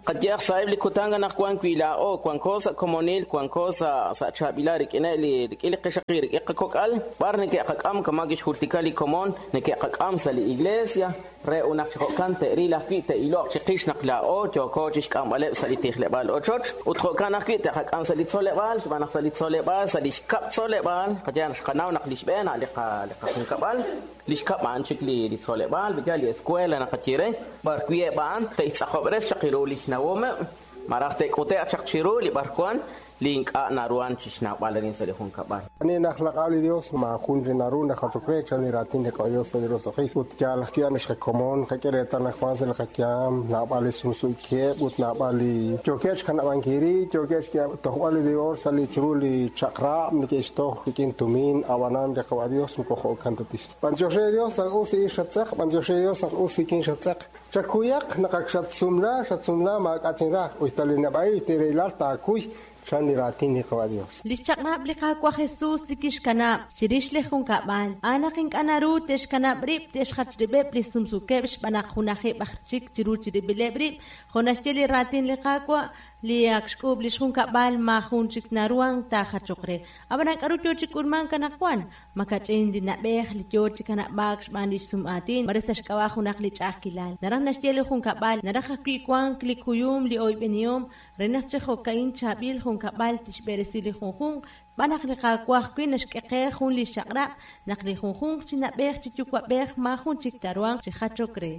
Qayehaq sa'eb' li kutan anaqwan wi laa'o wanko sa' komonil, wanko sa' sa' chaab'ilal rik'ineb' li rik'in li qixaqil, rik'in qakok'al, b'ar neke'qak'am kama' kixjultika li komon, neke'qak'am sa' li iglesia re ut naq chi jo'kan te'ril ajwi' te'iloq chiqix naq laa'o yooko chixk'amb'aleb' sa' li tijleb'aal ochoch ut jo'kan ajwi' te'qak'am sa' li tzoleb'aal xb'aan naq sa' li tzoleb'aal, sa' li xkab' tzoleb'aal, qayehaq naq xqanaw naq li xb'een a' li qa li qajunkab'al, Li xkab' a'an chik li tzoleb'aal, b'iyal li escuela naqaye re, b'ar wi' eb' a'an te'xtz'aqob'res chaq ru li xnawomeb', malaj te'k'ute'q chaq chiru li b'arwan li ink'a' naruhan chi xnawb'al arin sa' li junkab'al. Ani najlaq'ab' li Dios, maajun li naru najachok re, chan li raatin li qaDios sa' li roso'jik. Ut yaal ajwi' a'an xqakomon, qak'e reetal naq wank sa' li qayaam naab'al li sumsuukeb' ut naab'al li yookeb' xkanab'ankil rib', yookeb' xtojb'al li divorcio sa' li chiru li chaq'rab' neke'xtoj rik'in tumin, ab'anan li Qawa' Dios moko jo'kan ta tixye. B'antiox re Dios naq us li ix xattz'eq, b'antiox re Dios naq us rik'in xattz'eq. Chakuyaq naq ak xatsumla, xatsumla maak'a' chinraj, us ta li neb'a'il ut li rahilal taakuy, chan li raatin li Qawa' Dios. Li xchaq'rab' li Qaawa' Jesus li kixkanab' chirix li junkab'al, a'an naq ink'a' naru te'xkanab' rib' te'xjach rib'eb' li sumsuukeb' xb'aan naq junajeb' aj chik chiru chirib'ileb' rib', jo' naxye li raatin li Qaawa', Li ak xk'uub' li xjunkab'al maajun chik naruhank taajachoq re. Ab'anan k'aru yo chi k'ulmank anaqwan? Ma kach'in li na'b'ej li yo chi kanab'aak xb'aan li xsum'aatin, mare sa' xk'ab'a' junaq li ch'a'ajkilal. Naraj naxye li junkab'al, naraj ajwi' wank li kuyum, li oyb'enihom, re naq chi jo'ka'in chaab'il junkab'al tixb'eresi li junjunq, xb'aan naq li Qaawa' ajwi' naxk'e qe jun li xchaq'rab' naq li junjunq chi na'b'ej chi yuwa'b'ej maajun chik taaruhanq chi jachok re.